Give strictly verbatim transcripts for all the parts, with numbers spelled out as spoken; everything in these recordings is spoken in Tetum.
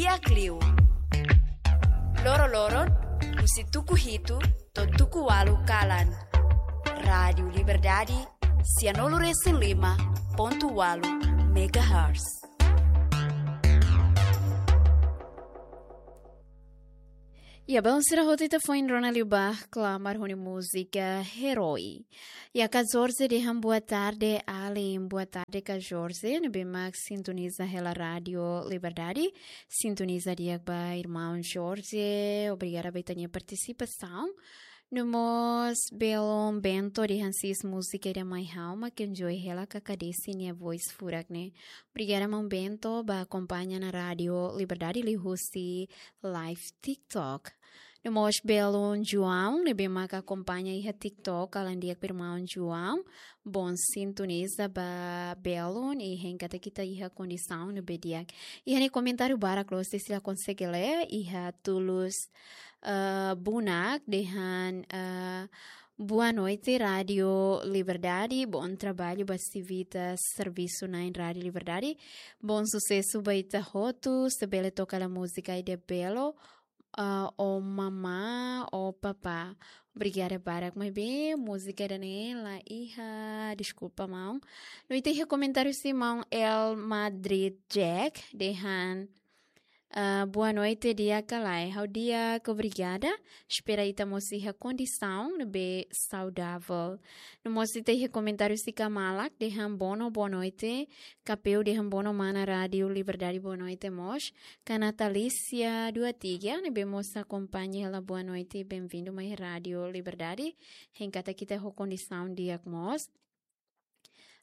Di'ak liu. Loroloron, husi tuku hitu to'o tuku ualu kalan. Rádiu Liberdade, sianulu-resin-lima pontu ualu megahertz. Ya, belun sira hotu, ita foin rona liu ba klamar ho nia múzika Herói. Ya, Ka Jorge dehan boa tarde, alin. Boa tarde, Ka Jorge. Ne'ebé mak sintoniza hela Rádiu Liberdade. Sintoniza di'ak ba irmaun Jorge. Obrigada ba ita-nia partisipasaun. No mós belun Bento dehan sis múzika ida mai ha'u mak enjoy hela, Ka Ka Desi nia voice furak ne'e. Obrigada, maun Bento, ba akompaña ona Rádiu Liberdade liuhusi live TikTok. No mós belun João, ne'ebé mak akompaña iha TikTok, alin di'ak ba irmaun João. Bom sintoniza ba belun, i hein katak ita iha kondisaun ne'ebé di'ak. Iha ne'e komentáriu barak loos, sira konsege lee, iha Tulus, eh, Bunak, dehan, eh, boa noite, Rádiu Liberdade, bom trabalho ba sira hotu servisu na'in Rádiu Liberdade. Bom susesu ba ita hotu, se bele toka hela múzika ida belo, ah, O Mamá, O Papá. Obrigada barak, maibé múzika ida-ne'e la iha, deskulpa, maun. No ita iha komentáriu husi maun El Madrid Jack, dehan, ah, boa noite, di'ak ka lae? Ha'u di'ak, obrigada. Espera ita mós iha kondisaun ne'ebé saudavel. No mós ita iha komentáriu husi Kamalak, dehan boa no-, boa noite. Kapeu dehan boa no mana Rádiu Liberdade, boa noite mós. Ka Natalícia Duatiga, ne'ebé mós akompaña hela boa noite, bem-vindo mai Rádiu Liberdade. Hein katak ita ho kondisaun di'ak mós.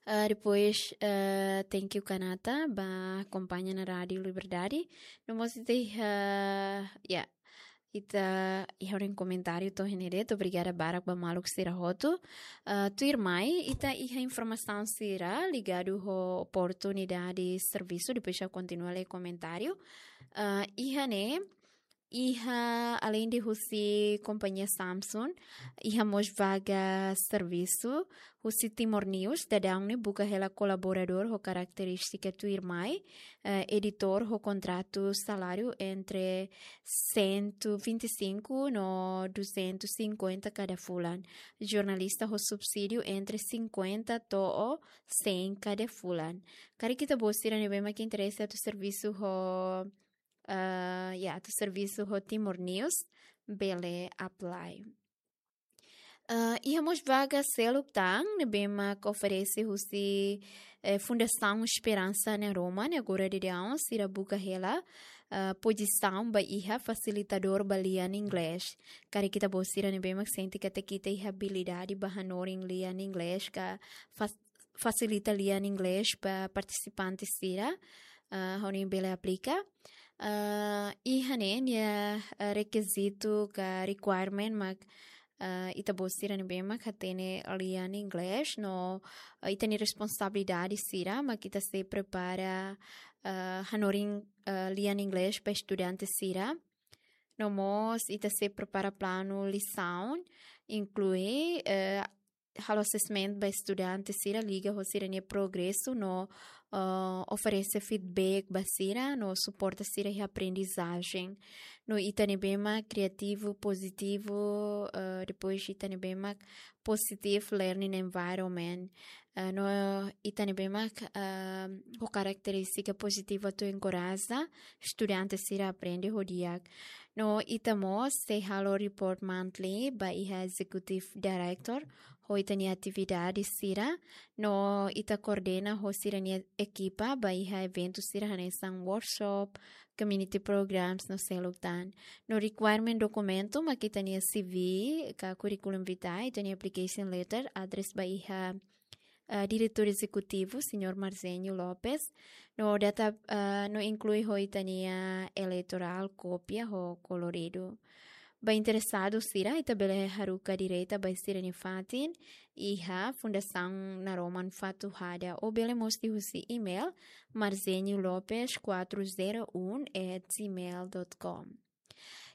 Ah, depois, ah, thank you, Kanata, ba akompaña ona Rádiu Liberdade. No mós ita iha, ya, ita iha horiseik komentáriu to'o iha ne'e de'it, obrigada barak ba maluk sira hotu. Ah, tuirmai, ita iha informasaun sira ligadu ho oportunidade servisu, depois ha'u kontinua lee komentáriu. Ah, iha ne'e, iha, alende husi kompañia Samsung, iha mós vaga servisu, husi Timor News, daudaun ne'e buka hela kolaboradór ho karakterístika tuirmai, eh, editór ho kontratu saláriu entre cento e vinte e cinco no duzentos e cinquenta kada fulan. Jornalista ho subsídiu entre cinquenta to'o cem kada fulan. Karik ita-boot sira ne'ebé mak interese atu servisu ho, ah, ya, atu servisu ho Timor News, bele apply. Ah, iha mós vaga seluk tan ne'ebé mak oferese husi, eh, Fundasaun Esperansa Naroman, ne'e agora daudaun sira buka hela, ah, pozisaun ba iha fasilitadór ba lian inglés. Karik ita-boot sira ne'ebé mak sente katak ita iha abilidade ba hanorin lian inglés ka fas-, fasilita lian inglés ba partisipante sira, ah, hodi bele aplika. Ah, iha ne'e nia, ah, rekizitu ka requirement mak, ah, ita-boot sira ne'ebé mak hatene lian inglés no, ah, ita-nia responsabilidade sira mak ita sei prepara, ah, hanorin, ah, lian inglés ba estudante sira. No mós ita sei prepara planu lisaun, inklui, eh, halo assessment ba estudante sira liga ho sira-nia progresu no, eh, oferese feedback ba sira no suporta sira iha aprendizajen. No ita ne'ebé mak kriativu, pozitivu, eh, depois ita ne'ebé mak positive learning environment. Eh, no ita ne'ebé mak, eh, ho karakterístika pozitivu atu enkoraja estudante sira aprende ho di'ak. No ita mós sei halo report monthly ba iha executive director ho ita-nia atividade sira. No ita koordena ho sira-nia ekipa ba iha eventu sira hanesan workshop, community programs no seluk tan. No requirement dokumentu mak ita-nia C V ka curriculum vitae, ita-nia application letter, address ba iha, eh, diretór ezekutivu, señór Marzenio Lopes. No data, eh, no inklui ho ita-nia eleitorál, kópia ho koloridu. Ba interesadu sira, ita bele haruka direta ba sira-nia fatin iha Fundasaun Naroman Fatuhada, ou bele mós liuhusi email, marzenio lopes quatro zero um at gmail dot com.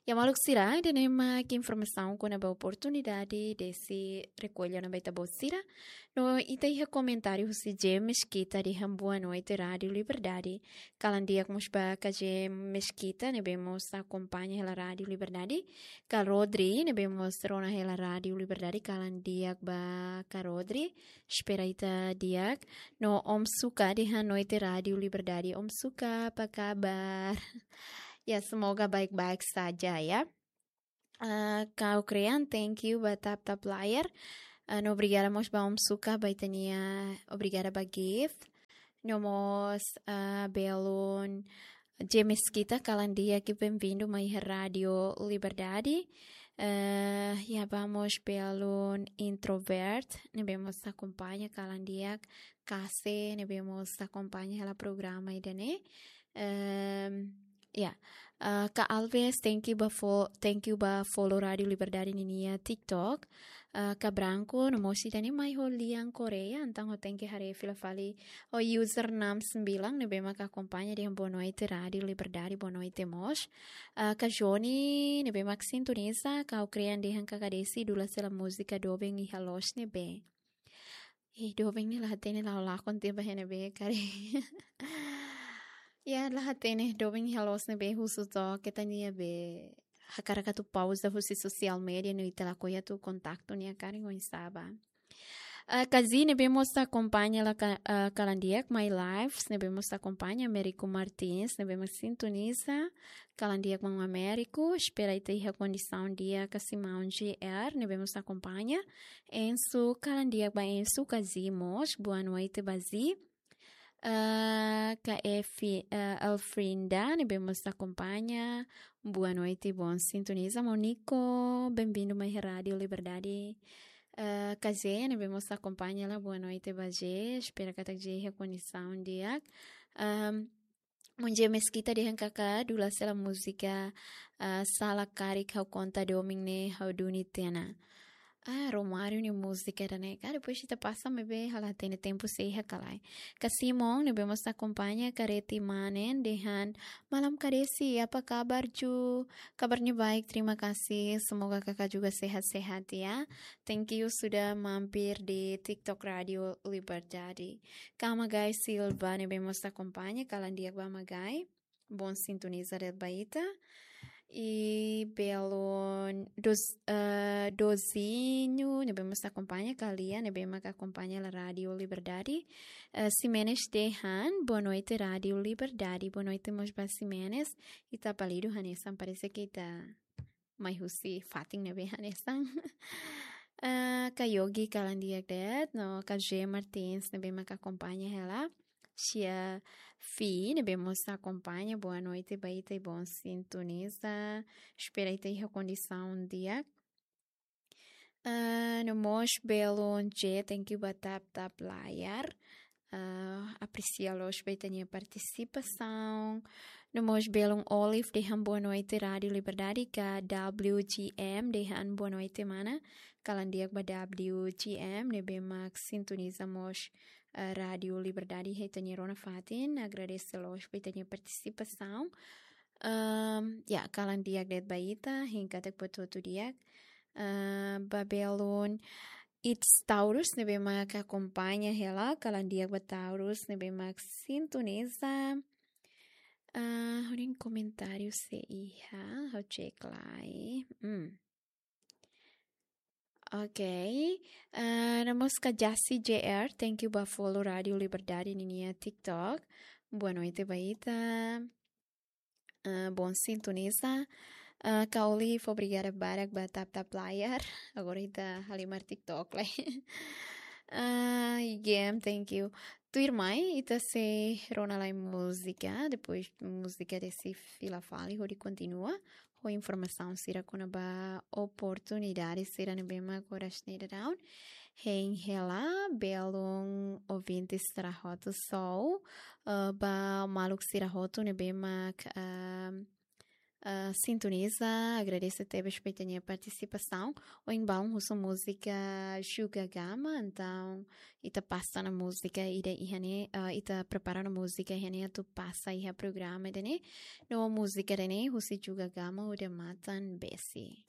Ya, maluk sira, ida-ne'e mak informasaun kona-ba oportunidade desi rekolla ona ba ita-boot sira. No ita iha komentáriu husi James Kita dehan boa noite Rádiu Liberdade. Kalan di'ak mós ba kak James Kita ne'ebé mós akompaña hela Rádiu Liberdade. Kak Rodri ne'ebé mós rona hela Rádiu Liberdade, kalan di'ak ba kak Rodri. Espera ita di'ak. No Om Suka dehan noite Rádiu Liberdade. Om Suka, apa kabar? Ya, semoga baik-baik saja ya. Ah, kak Ukrean, thank you ba tap-tap layar. Ah, no obrigada mós ba Om Suka, ba ita-nia, obrigada ba gift. No mós, ah, belun James Kita, kalan di'ak, benvindu mai iha Rádiu Liberdade. Eh, ya, ba mós belun Introvert ne'ebé mós akompaña, kalan di'ak, Kase ne'ebé mós akompaña hela programa ida-ne'e. Ehm, ya, eh, kak Alves, thank you ba fo-, thank you ba follow Rádiu Liberdade ninia TikTok. Eh, kak Branco, no mós ida-ne'e mai ho lian Korea, entaun ha'u tenke haree fila fali ho user enam sembilan ne'ebé mak akompaña dehan boa noite Rádiu Liberdade, boa noite mós. Ah, kak Johnny ne'ebé mak sintoniza, kak Ukrean dehan kak Desi dula sela múzika doben iha loos ne'ebé. Eh, doben ne'e la hatene, la lakon tiha ba iha ne'ebé karik. Ya, la hatene doben iha loos ne'ebé husu took ita-nia be hakarak atu pauza husi sosiál media no ita lakohi atu kontaktu nia karik oinsá ba. Ah, kak Zi ne'ebé mós akompaña hela ka-, ah, kalan di'ak mai lives, ne'ebé mós akompaña Américo Martins, ne'ebé mós sintoniza, kalan di'ak maun Américo, espera ita iha kondisaun di'ak, kak Simão G R, ne'ebé mós akompaña, Ensu, kalan di'ak ba Ensu, kak Zi mós, boa noite ba Zi. Ah, kak Efi-, ah, Elfrinda, ne'ebé mós akompaña, boa noite, bom sintoniza. Monico, benvindu mai Rádiu Liberdade. Ah, kak Zé, ne'ebé mós akompaña hela, boa noite ba Zé. Espera katak Zé iha kondisaun di'ak. Ahm, maun James Kita dehan kak dula sela múzika, ah, sala karik ha'u konta domin ne'e ha'u duni tiha ona. Ah, Romário nia múzika ida-ne'e ka, depois ita pasa maibé ha'u la hatene tempu sei iha ka lae. Kak Simon ne'ebé mós akompaña, kak Reti Manen dehan malam kak Desi, apa kabar Ju? Kabarnya baik, terima kasih. Semoga kakak juga sehat-sehat ya. Thank you sudah mampir di TikTok Rádiu Liberdade. Kak Magai Silva ne'ebé mós akompaña, kalan di'ak ba Magai. Bom sintoniza de'it ba ita. I belun Dos-, eh, Dozinho ne'ebé mós akompaña, kak Lia ne'ebé mak akompaña hela Rádiu Liberdade. Eh, Ximenes dehan, boa noite Rádiu Liberdade. Boa noite mós ba Ximenes. Ita apelidu hanesan, parese ke ita mai husi fatin ne'ebé hanesan. Eh, kak Yogi kalan di'ak de'it, no kak G Martins ne'ebé mak akompaña hela. Tia Fi ne'ebé mós akompaña, boa noite ba ita i bom sintoniza. Espera ita iha kondisaun di'ak. Eh, no mós belun J, thank you ba tap-tap layar. Ah, apresia loos ba ita-nia partisipasaun. No mós belun Olive dehan boa noite Rádiu Liberdade, kak W G M dehan boa noite mana. Kalan di'ak ba W G M ne'ebé mak sintoniza mós, ah, Rádiu Liberdade iha ita-nia rona fatin. Agradese loos ba ita-nia partisipasaun. Ahm, ya, kalan di'ak de'it ba ita, hein katak buat hotu di'ak. Ah, ba belun It's Taurus ne'ebé mak akompaña hela, kalan di'ak ba Taurus ne'ebé mak sintoniza. Ah, ha'u-nia komentáriu sei iha, ha'u cek lai. Hmm. Oke. Ah, no mós kak Jasi J R, thank you ba follow Rádiu Liberdade ninia TikTok. Boa noite ba ita. Ah, bom sintoniza. Ah, kak Olive, obrigada barak ba tap-tap layar. Agora ita halimar TikTok lai. Ah, I G M, thank you. Tuirmai, ita sei rona lai múzika, depois múzika Desi fila fali hodi kontinua ho informasaun sira kona-ba oportunidade sira ne'ebé mak oras ne'e daudaun hein hela, belun ouvinte sira hotu sou, eh, ba maluk sira hotu ne'ebé mak, eh, ah, sintoniza, agradese tebes ba ita-nia partisipasaun. Ohin balun husu múzika Juga Gama, entaun ita pasa ona múzika ida iha ne'e, ah, ita prepara ona múzika iha ne'e atu pasa iha programa ida-ne'e. No múzika ida-ne'e husi Juga Gama, Odamatan Besi.